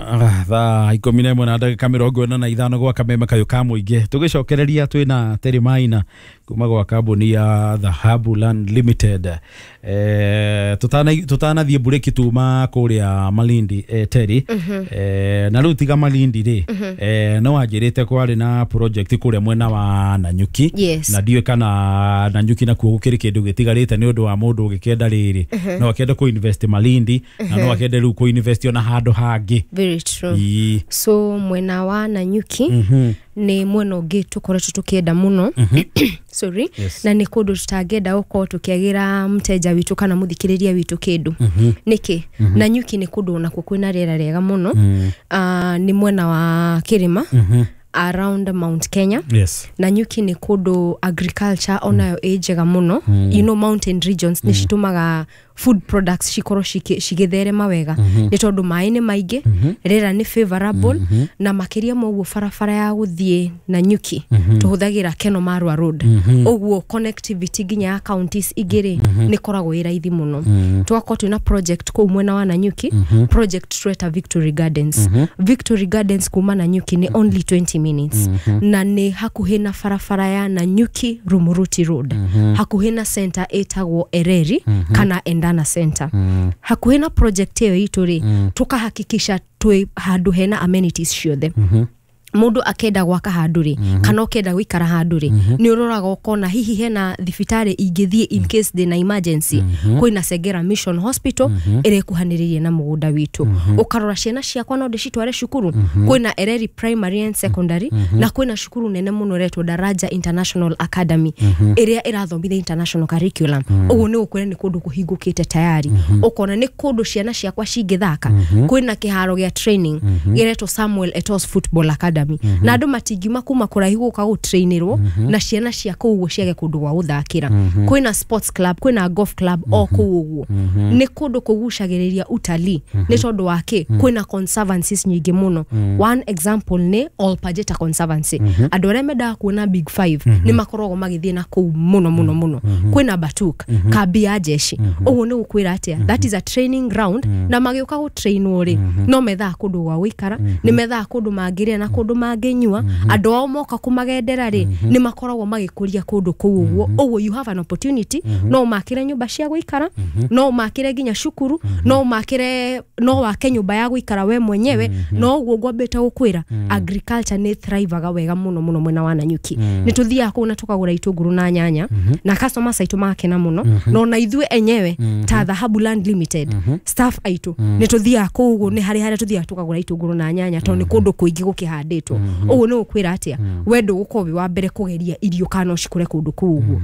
Thaa 11:45 gwa kameme kayũ ka mũingĩ tũgĩcokereria twĩna Terry Maina kuma gwa kambuni ya Dhahabu Land Limited. Tũtanathiĩ mburĩki tuma kũrĩa Malindi, Terry, na rĩu tiga Malindi rĩ, no wanjĩrĩte kwarĩ na project kũrĩa mwena wa Nanyuki. Yes. Na ndiũĩ kana Nanyuki nakuo gũkĩrĩ kĩndũ gĩtigarĩte nĩ ũndũ wa mũndũ ũgĩkĩenda rĩrĩ no akĩende kũ invest Malindi na no akĩende rĩu kũ invest ona handũ hangĩ. Very true. Ii. So mwena wa Nanyuki nĩ mwena ũngĩ tũkoretwo tũkĩenda mũno, sorry. Yes. Na nĩ kũndũ tũtangĩenda gũkorwo tũkĩagĩra mteja witũ kana mũthikĩrĩria witũ kĩndũ. Nĩkĩ Nanyuki nĩ kũndũ onakuo kwĩna rĩera rĩega mũno? Nĩ mwena wa kĩrĩma around Mount Kenya. Nanyuki nĩ kũndũ agriculture onayo ĩ njega mũno. Mountain regions nĩ citũmaga food products cikorwo cigĩtherema wega nĩ tondũ maĩ nĩ maingĩ, rĩera nĩ favorable, na makĩria ma ũguo barabara ya gũthiĩ Nanyuki tũhũthagĩra Keno Marwa Road, ũguo connectivity nginya ya counties ingĩ rĩ nĩ koragwo ĩ raithi mũno. Tũgakorwo twĩna project kũu mwena wa Nanyuki, project tweta Victory Gardens. Victory Gardens kuma Nanyuki nĩ only 20 minutes na nĩ hakuhĩ na barabara ya Nanyuki Rumuruti Road, hakuhĩ na center ĩtagwo Ereri kana Endana Center. Hakuhĩ na project ĩyo itũ rĩ, tũkahakikisha twĩ handũ hena amenities ciothe. Mundu akenda gwaka handu ri kana ukenda guikara handu ri, ni uroraga ukona hihi hena thibitarĩ ingĩthiĩ in case ndĩna emergency. Kwĩna Sengera Mission Hospital ĩrĩa ĩkuhanĩrĩirie na mũgũnda witũ. Ũkarora ciana ciakwa no ndĩcitware cukuru, kwĩna Ereri Primary and Secondary na kwĩna cukuru nene mũno ĩretwo Daraja International Academy ĩrĩa ĩrathomithia international curriculum. Ũguo nĩ gũkwĩra nĩ kũndũ kũhingũkĩte tayari. Ũkona nĩ kũndũ ciana ciakwa cingĩthaka, kwĩna kĩharo gĩa training gĩretwo Samuel Eto'o Football Academy, na andũ matingiuma kuma kũraihu gũka gũtrainĩrwo na ciana cia kũu ũguo ciage kũndũ gwa gũthakĩra. Kwĩna sports club, kwĩna golf club o kũu. Ũguo nĩ kũndũ kũgucagĩrĩria utalii nĩ tondũ wa kĩ? Kwĩna conservancies nyingĩ mũno. One example nĩ Ol Pejeta Conservancy. Andũ arĩa mendaga kuona Big Five nĩ makoragwo magĩthiĩ na kũu mũno mũno mũno. Kwĩna Batuk, kambi ya jeshi. Ũguo nĩ gũkwĩra atĩa? That is a training ground, na magĩũka gũtrainwo rĩ, no methaga kũndũ gwa gũikara, nĩ methaga kũndũ mangĩrĩa na kũndũ mangĩnyua. Andũ ao moka kũmagendera rĩ, nĩ makoragwo magĩkũria kũndũ kũu. Ũguo you have an opportunity, no ũmakĩre nyũmba cia gũikara, no ũmakĩre nginya cukuru, no ũmakĩre, no wake nyũmba ya gũikara we mwenyewe. No ũguo ngwambĩte gũkwĩra, agriculture nĩ thrivaga wega mũno mũno mwena wa Nanyuki. Nĩ tũthiaga kũu na tũkagũra itũngũrũ na nyanya na customers aitũ magakena mũno, na ona ithuĩ enyewe ta Dhahabu Land Limited staff aitũ nĩ tũthiaga kũu. Ũguo nĩ harĩ harĩa tũthiaga tũkagũra itũngũrũ na nyanya tondũ nĩ kũndũ kũingĩ gũkĩhandĩtwo. Ũguo nĩ gũkwĩra atĩa? We ndũgũkorwo wĩ wa mbere kũgeria irio kana no cikũre kũndũ kũu. Ũguo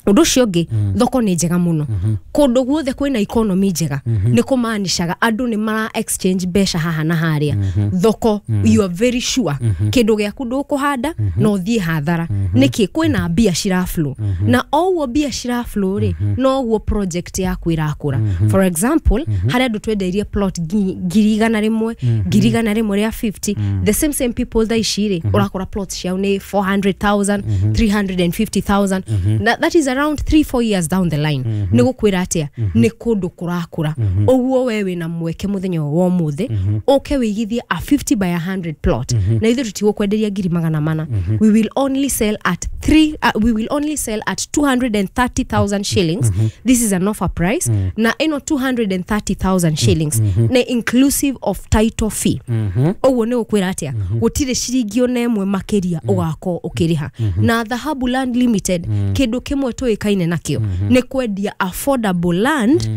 ũndũ ũcio ũngĩ, thoko nĩ njega mũno. Kũndũ guothe kwĩna economy njega nĩ kũmaanishaga andũ nĩ mara exchange mbeca haha na harĩa thoko. You are very sure kĩndũ gĩaku ndũkũhanda na ũthiĩ hathara. Nĩkĩ? Kwĩna mbia ciraflow, na o ũguo mbia ciraflow rĩ, noguo project yaku ĩrakũra. For example, harĩa andũ twendeirie plot 100,000, 150,000, the same same people thaa ici rĩ, ũrakora plot ciao nĩ 400,000, 350,000, na that is around 3 4 years down the line. Nĩ gũkwĩra atĩa? Nĩ kũndũ kũrakũra. Ũguo we wĩna mweke mũthenya wa ũmũthĩ ũke wĩigithie a 50 by 100 plot, na ithuĩ tũtigũkwenderia 400,000. We will only sell at 230,000 shillings. This is an offer price, na ĩno 230,000 shillings nĩ inclusive of title fee. Ũguo nĩ gũkwĩra atĩa? Gũtirĩ ciringi ona ĩmwe makĩria ũgakorwo ũkĩrĩha. Na Dhahabu Land Limited, kĩndũ kĩmwe tũĩkaine nakĩo nĩ kwendia affordable land,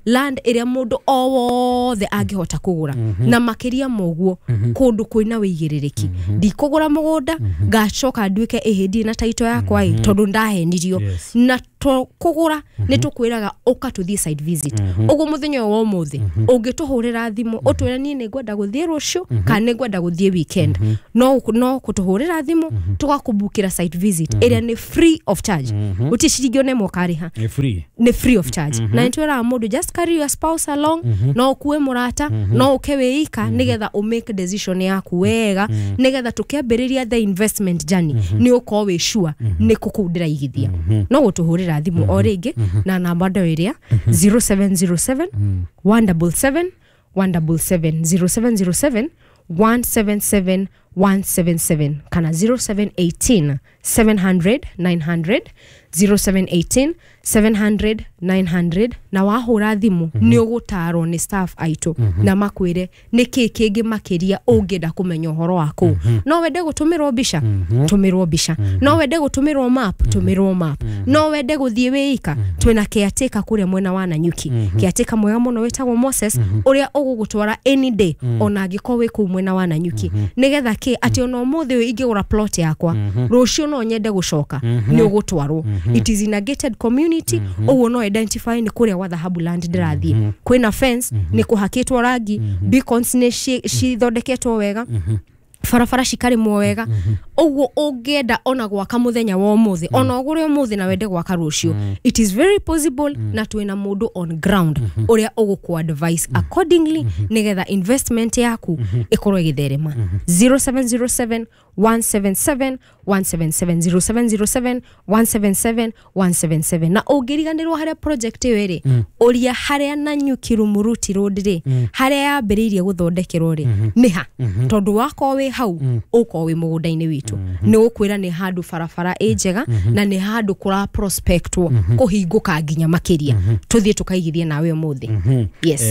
land ĩrĩa mũndũ o wothe angĩhota kũgũra, na makĩria ma ũguo kũndũ kwĩna wĩigĩrĩrĩki. Ndikũgũra mũgũnda ngacoka nduĩke ĩhĩ ndirĩ na title yakwa ĩ tondũ ndahenirio. Na kũgũra nĩ tũkwĩraga ũka tũthiĩ site visit. Ũguo mũthenya ũyũ wa ũmũthĩ ũngĩtũhũrĩra thimũ ũtwĩre niĩ nĩ ngwenda gũthiĩ rũciũ kana nĩ ngwenda gũthiĩ weekend, no kũtũhũrĩra thimũ tũgakũbukĩra site visit ĩrĩa nĩ free of charge. Gũtirĩ ciringi ona ĩmwe ũkarĩha. Nĩ free. Nĩ free of charge, na nĩ twĩraga mũndũ just carry your spouse along, no ũkue mũrata, no ũke wĩika, nĩgetha ũ make decision yaku wega, nĩgetha tũkĩambĩrĩria the investment journey nĩ ũkorwo wĩ sure nĩ kũ kũu ndĩraigithia. No gũtũhũrĩra thimũ o rĩngĩ na namba ndo ĩrĩa 0707 177. 177, 0707 177 177 kana 0718 700 900, 0718 700 900. Na wahũra thimũ nĩ ũgũtarwo nĩ staff aitũ na makwĩre nĩ kĩ kĩngĩ makĩria ũngĩenda kũmenya ũhoro wa kũu. No wende gũtũmĩrwo mbica, tũmĩrwo mbica. No wende gũtũmĩrwo map, tũmĩrwo map. No wende gũthiĩ wĩika, twĩna caretaker kũrĩa mwena wa Nanyuki, caretaker mwega mũno wĩtagwo Moses, ũrĩa ũgũgũtwara any day ona angĩkorwo wĩ kũu mwena wa Nanyuki, nĩgetha kĩ atĩ ona ũmũthĩ ũyũ ingĩgũra plot yakwa, rũciũ no nyende gũcoka, nĩ ũgũtwarwo. It is in a gated community, ũguo no identify nĩ kũrĩa gwa Dhahabu Land ndĩrathiĩ. Kwĩna fence, nĩ kũhakĩtwo rangi, beacons nĩ cithondeketwo wega, barabara cikarĩmwo wega. Ũguo ũngĩenda ona gwaka mũthenya wa ũmũthĩ, ona ũgũre ũmũthĩ na wende gwaka rũciũ, it is very possible, na twĩna mũndũ on ground ũrĩa ũgũkũ advice accordingly nĩgetha investment yaku ĩkorwo ĩgĩtherema. 0707 177 177, 0707 177 177. Na ũngĩriganĩrwo harĩa project ĩyo ĩrĩ, ũria harĩa Nanyuki Rumuruti Road rĩ, harĩa yambĩrĩirie gũthondekerwo rĩ, nĩ ha, tondũ wakorwo wĩ hau ũkorwo wĩ mũgũnda-inĩ witũ, nĩ ũkwĩra nĩ handũ barabara ĩ njega na nĩ handũ kũra prospectwo kũhingũka nginya makĩria. Tũthiĩ tũkaigithie nawe ũmũthĩ. Yes.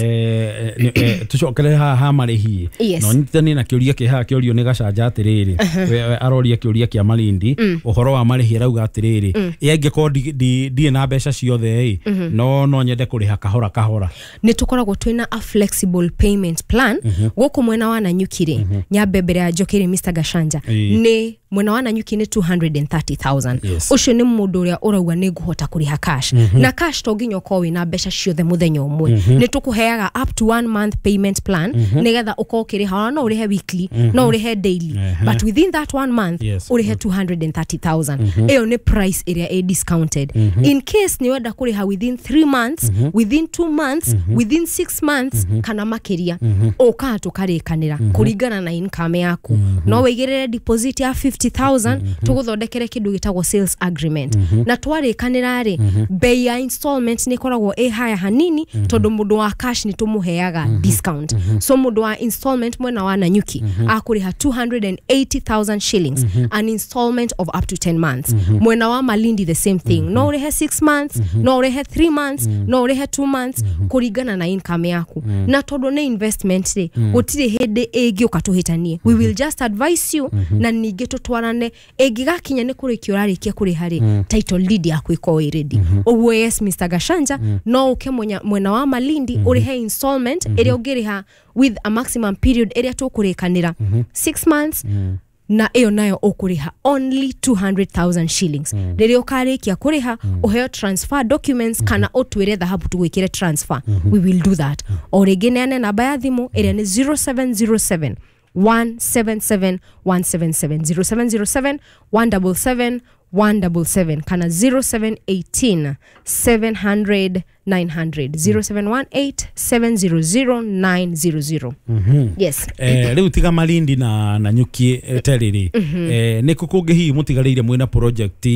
Tucokere haha ha marĩhi. No nyitithanie na kĩũria kĩ haha kĩũrio nĩ Gacanja atĩrĩrĩ, we aroria kĩũria kĩa Malindi ũhoro wa marĩhi, arauga atĩrĩrĩ, ĩ angĩkorwo ndirĩ na mbeca ciothe ĩ, no nyende kũrĩha kahora kahora? Nĩ tũkoragwo twĩna a flexible payment plan gũkũ mwena wa Nanyuki rĩ. Nyambe mbere ya njokere Mr Gachanja, nĩ mwena wa Nanyuki nĩ 230,000. Ũcio nĩ mũndũ ũrĩa ũrauga nĩ ngũhota kũrĩha cash, na cash to nginya ũkorwo wĩna mbeca ciothe mũthenya ũmwe. Nĩ tũkũheaga up to one month payment plan nĩgetha ũkorwo ũkĩrĩha, ona no ũrĩhe weekly, no ũrĩhe daily, but within that one month ũrĩhe 230,000. Ĩyo nĩ price ĩrĩa ĩ discounted. In case nĩ wenda kũrĩha within 3 months, within 2 months, within 6 months kana makĩria, ũkaga tũkarĩkanĩra kũringana na income yaku. No wĩigĩrĩre deposit ya 50,000, tũgũthondekere kĩndũ gĩtagwo sales agreement, na twarĩkanĩra rĩ, bei ya installment nĩ ĩkoragwo ĩ haya hanini tondũ mũndũ wa cash nĩ tũmũheaga discount. So mũndũ wa installment mwena wa Nanyuki akũrĩha 280,000 shillings, an installment of up to 10 months. Mwena wa Malindi the same thing, no ũrĩhe 6 months, no ũrĩhe 3 months, no ũrĩhe 2 months kũringana na income yaku. Na tondũ nĩ investment rĩ, gũtirĩ hĩndĩ ĩngĩũka tũhĩtanie. We will just advise you na ningĩ tũtwarane ĩngĩgakinya nĩ kũrĩkia ũrarĩkia kũrĩha rĩ, title deed yaku ĩkorwo ĩ ready. Ũguo yes, Mr Gachanja, no ũke mwena wa Malindi ũrĩhe installment ĩrĩa ũngĩrĩha with a maximum period ĩrĩa tũkũrĩkanĩra, 6 months, na ĩyo nayo ũkũrĩha only 200,000 shillings. Rĩrĩa ũkarĩkia kũrĩha, ũheo transfer documents kana ũtwĩre Dhahabu tũgwĩkĩre transfer, we will do that. O rĩngĩ neane namba ya thimũ ĩrĩa nĩ 0707 177 177, 0707 177 177 kana 0718 700 900, 0718 700 900. Yes. Rĩu tiga Malindi na Nanyuki, terĩrĩ, nĩ kũ kũngĩ hihi mũtigarĩire mwĩna project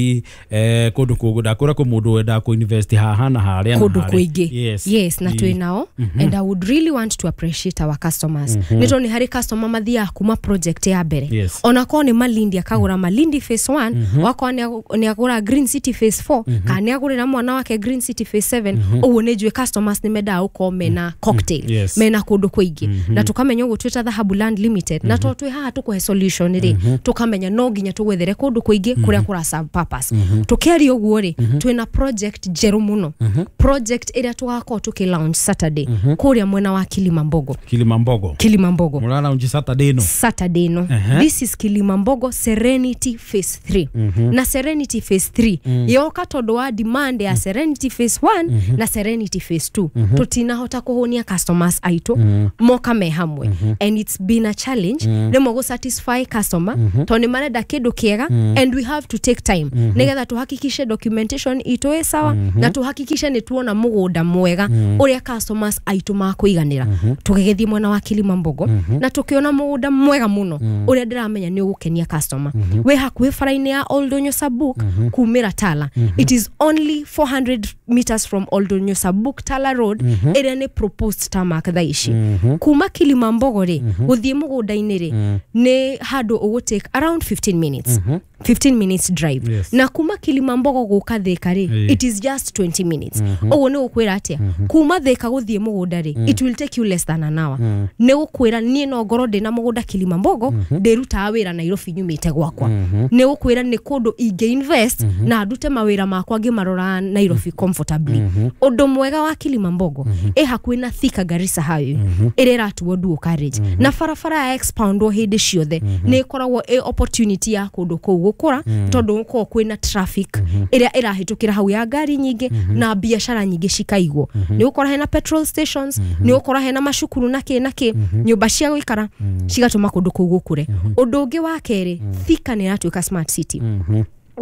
kũndũ kũngĩ? Ndakũra kũ mũndũ wendaga kũ invest haha na harĩa na kũndũ harĩa. Kũingĩ. Yes, na twĩ nao, and I would really want to appreciate our customers, nĩ tondũ nĩ harĩ customer mathiaga kuma project ya mbere, onakorwo nĩ Malindi, akagũra Malindi phase 1, wakorwo nĩ agũra Green City phase 4, kana nĩ agũrĩra mwana wake Green City phase 7. Ũguo nĩ njũĩ customers nĩ mendaga gũkorwo mena cocktail, mena kũndũ kũingĩ, na tũkamenya ũguo twĩta Dhahabu Land Limited, na to twĩ haha tũkũhe solution rĩ, tũkamenya no nginya tũgwethere kũndũ kũingĩ kũrĩa kũra serve purpose. Tũkĩaria ũguo rĩ, twĩna project njerũ mũno, project ĩrĩa tũgakorwo tũkĩ launch Saturday kũrĩa mwena wa Kilimambogo. Kilimambogo? Kilimambogo. Mũra launch Saturday ĩno? Saturday no. This is Kilimambogo Serenity Phase 3, na Serenity Phase 3 yoka tondũ wa demand ya Serenity Phase 1 na Serenity Phase 2. Tũtinahota kũhũnia customers aitũ moka me hamwe, and it's been a challenge rĩmwe gũ satisfy customer tondũ nĩ marenda kĩndũ kĩega, and we have to take time nĩgetha tũhakikishe documentation itũ ĩ sawa na tũhakikishe nĩ tuona mũgũnda mwega ũrĩa customers aitũ makũiganĩra. Tũgĩgĩthiĩ mwena wa Kilimambogo na tũkĩona mũgũnda mwega mũno ũrĩa ndĩramenya nĩ ũgũkenia customer, wĩ hakuhĩ bara-inĩ ya Old Donyo Sabuk kumĩra Tala. It is only 400 meters from Old Oldonyo Sabuk Tala Road ĩrĩa nĩ proposed tarmac thaa ici. Kuma Kilimambogo rĩ gũthiĩ mũgũnda-inĩ rĩ nĩ handũ ũgũ take around 15 minutes, 15 minutes drive. Yes. Na kuma Kilimambogo gũka Thika rĩ, it is just 20 minutes. Ũguo nĩ gũkwĩra atĩa, kuma Thika gũthiĩ mũgũnda rĩ, it will take you less than an hour. Nĩ gũkwĩra niĩ no ngorwo ndĩna mũgũnda Kilimambogo, ndĩrutaga wĩra Nairobi nyumĩte gwakwa. Nĩ gũkwĩra nĩ kũndũ ingĩ invest na ndute mawĩra makwa ngĩmarora Nairobi comfortably. Ũndũ mwega wa Kilimambogo, ĩ hakuhĩ na Thika Garissa Highway ĩrĩa ĩratuo dual carriage, na barabara ya expoundwo hĩndĩ ciothe nĩ ĩkoragwo ĩ opportunity ya kũndũ kũu gũkũra, tondũ gũkoragwo kwĩna traffic ĩrĩa ĩrahĩtũkĩra hau ya ngari nyingĩ na biacara nyingĩ cikaigwo. Nĩ ũgũkora hena petrol stations, nĩ ũgũkora hena macukuru na kĩ na kĩ, nyũmba cia gũikara, cigatũma kũndũ kũu gũkũre. Ũndũ ũngĩ wa kerĩ, Thika nĩ ĩratuĩka smart city,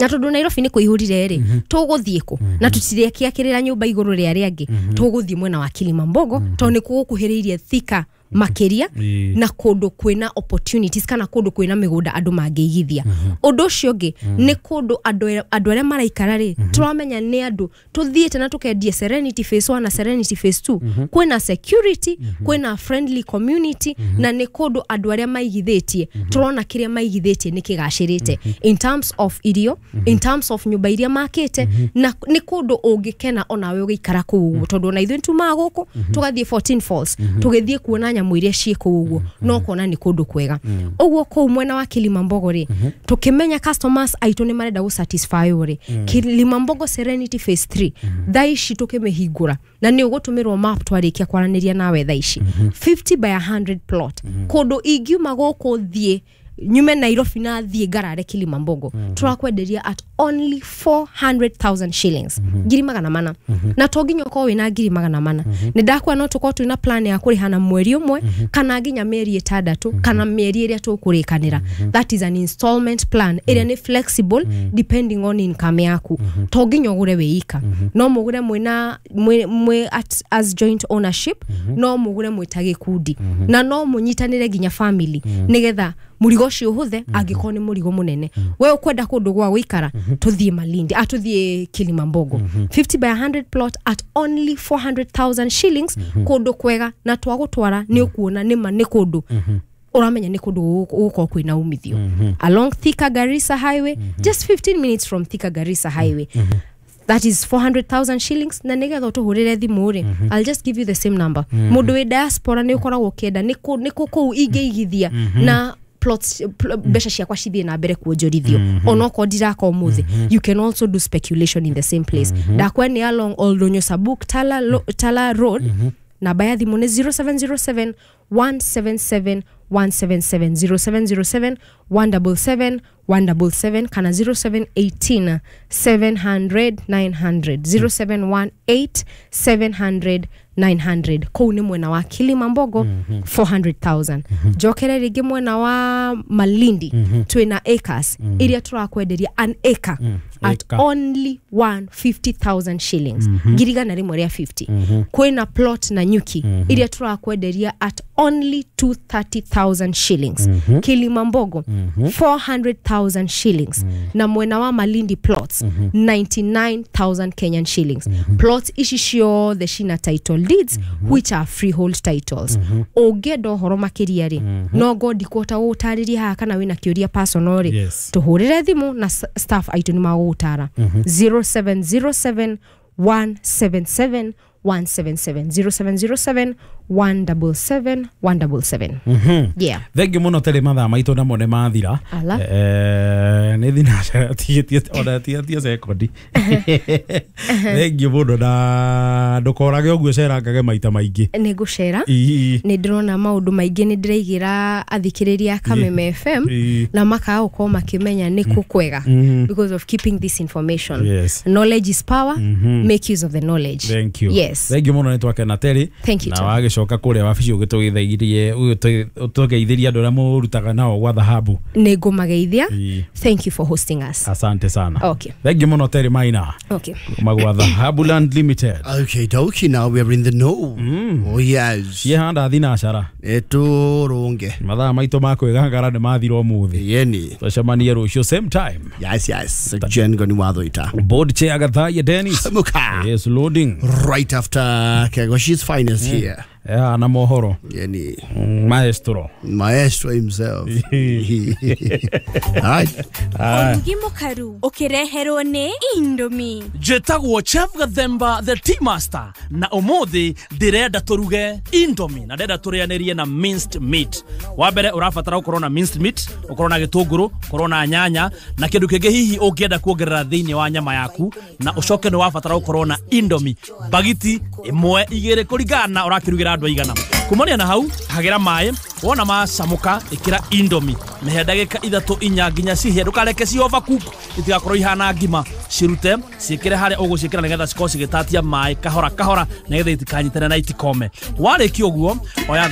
na tondũ Nairobi nĩ kũihũrire rĩ, tũgũthiĩ kũ na tũtirekĩakĩrĩra nyũmba igũrũ rĩa arĩa angĩ? Tũgũthiĩ mwena wa Kilimambogo, tondũ nĩ gũkuhĩrĩirie Thika makĩria na kũndũ kwĩna opportunities kana kũndũ kwĩna mĩgũnda andũ mangĩigithia. Ũndũ ũcio ũngĩ nĩ kũndũ andũ arĩa maraikara rĩ, tũramenya nĩ andũ tũthiĩte na tũkendia Serenity Phase 1 na Serenity Phase 2. Kwĩna security, kwĩna friendly community, na nĩ kũndũ andũ arĩa maigithĩtie tũrona kĩrĩa maigithĩtie nĩ kĩgacĩrĩte in terms of irio, in terms of nyũmba iria makĩte, na nĩ kũndũ ũngĩkena onawe ũgĩikara kũu ũguo, tondũ ona ithuĩ tumaga gũkũ tũgathiĩ 14 Falls, tũgĩthiĩ kuona nyamũ iria ciĩ kũu ũguo, no kuona nĩ kũndũ kwega ũguo. Kũu mwena wa Kilimambogo rĩ, tũkĩmenya customers aitũ nĩ marenda gũ satisfy rĩ, Kilimambogo Serenity Phase 3 thaa ici tũkĩmĩhingũra, na nĩ ũgũtũmĩrwo map twarĩkia kwaranĩria nawe thaa ici, 50 by 100 plot, kũndũ ingiuma gũkũ thiĩ nyume Nairobi na thiĩ ngarare Kilimambogo, tũrakwenderia at only 400,000 shillings, 400,000. Na to nginya ũkorwo wĩna 400,000. Nĩ ndakwa no tũkorwo twĩna plan ya kũrĩha na mweri ũmwe kana nginya mĩeri 6 kana mĩeri ĩrĩa tũkũrĩkanĩra. That is an installment plan ĩrĩa nĩ flexible depending on income yaku. To nginya ũgũre wĩ ika, no mũgũre mwĩna mwĩ as joint ownership, no mũgũre mwĩ ta gĩkundi, na no mũnyitanĩre nginya family nĩgetha mũrigo ũcio ũhũthe. Angĩkorwo nĩ mũrigo mũnene, we ũkwenda kũndũ gwa gũikara, tũthiĩ Malindi, tũthiĩ Kilimambogo, 50 by 100 plot at only 400,000 shillings, kũndũ kwega, na twagũtwara nĩ ũkuona nĩma nĩ kũndũ ũramenya nĩ kũndũ gũgũkorwo kwĩna umithio, along Thika Garissa Highway, just 15 minutes from Thika Garissa Highway. That is 400,000 shillings. Na nĩgetha ũtũhũrĩre thimũ rĩ, I'll just give you the same number. Mũndũ wĩ diaspora nĩ ũkoragwo ũkĩenda nĩ kũ kũu ingĩigithia na plots, mbeca ciakwa cithiĩ na mbere kuonjorithio onokorwo ndiraka ũmũthĩ. You can also do speculation in the same place. Ndakwa nĩ along Oldonyo Sabuk Tala Road. Namba ya thimũ nĩ 0707 177 177, 0707 177 177, kana 0718 700 900, 0718 700 900. Kũu nĩ mwena wa Kilimambogo, 400,000. Njokere rĩngĩ mwena wa Malindi, twĩna acres iria tũrakwenderia an acre at Acre. only 150,000 shillings, 150,000. Kwĩna plot na nyuki iria tũrakwenderia at only 230,000 shillings. Kilimambogo 400,000 shillings, na mwena wa Malindi plots 99,000 Kenyan shillings. Plots ici ciothe cina title deeds which are freehold titles. Ũngĩenda ũhoro makĩria rĩ, no ngo ndikũhota gũgũtarĩria haha, kana wĩna kĩũria personal rĩ, tũhũrĩre thimũ na staff aitũ nĩ magũgũtara. 0707 177 177, 0707 177 177. Yeah. Thengiũ mũno terĩ, mathaa maitũ namo nĩ mathira. Ala. Nĩ thinacara tigĩtie ona tigatie sekondi. Thengiũ mũno, na ndũkorage ũguo, cerangage maita maingĩ. Nĩ ngũcera. Ii. Nĩ ndĩrona maũndũ maingĩ nĩ ndĩraigĩra athikĩrĩria a Kameme FM na makaga gũkorwo makĩmenya nĩ kũ kwega because of keeping this information. Knowledge is power. Make use of the knowledge. Thank you. Yes. Thengiũ mũno, nĩ twakena terĩ. Thank you, Na Tom. wagĩcoka. Ũgĩcoka kũrĩa wabici ũgĩtũgeithirie ũtũgeithirie andũ arĩa mũrutaga nao gwa dhahabu. Nĩ ngũmageithia. Ĩĩ. Thank you for hosting us. Asante sana. Okay. Thank you mũno, Terry Maina Okay. kuma gwa Dhahabu Land Limited. Okay, dokie, now we're in the know. Oh, yes. Ciehanda thinacara. Eturunge. Mathaa maitũ ma kwĩgangara nĩ mathira ũmũthĩ. Yeni. Tũcemanie rũciũ same time. Yes. Jen Goni Wathoita. Board chair Gathaiya Dennis. Muka. Yes, loading. Right after Kegoshi's finest here. Yeah, na mohoro. Yeni. Maestro. Maestro himself. All right. Ũrugi mũkaru ũkĩreherwo nĩ Indomie. Njĩtagwo Chef Gathemba the Tea Master, na ũmũthĩ ndĩrenda tũruge Indomie na ndĩrenda tũrĩanĩrie na minced meat. Wa mbere ũrabatara ũkorwo na minced meat, ũkorwo na gĩtũngũrũ, ũkorwo na nyanya na kĩndũ kĩngĩ hihi ũngĩenda kuongerera thĩinĩ wa nyama yaku, na ũcoke nĩ wabatara ũkorwo na Indomie bagiti ĩmwe igĩrĩ kũringana na ũrakĩrugĩra andũ aigana. Kumania na hau, hagĩra maĩ, wona macamũka ĩkĩra Indomie, mĩhe ndagĩka 3 4 nginya cihĩe, ndũkareke ci overcook itigakorwo ihana ngima, cirute ciĩkĩre harĩa ũgũciĩkĩra nĩgetha cikorwo cigĩtatia maĩ kahora kahora nĩgetha itikanyitane na itikome. Warĩkia ũguo oya.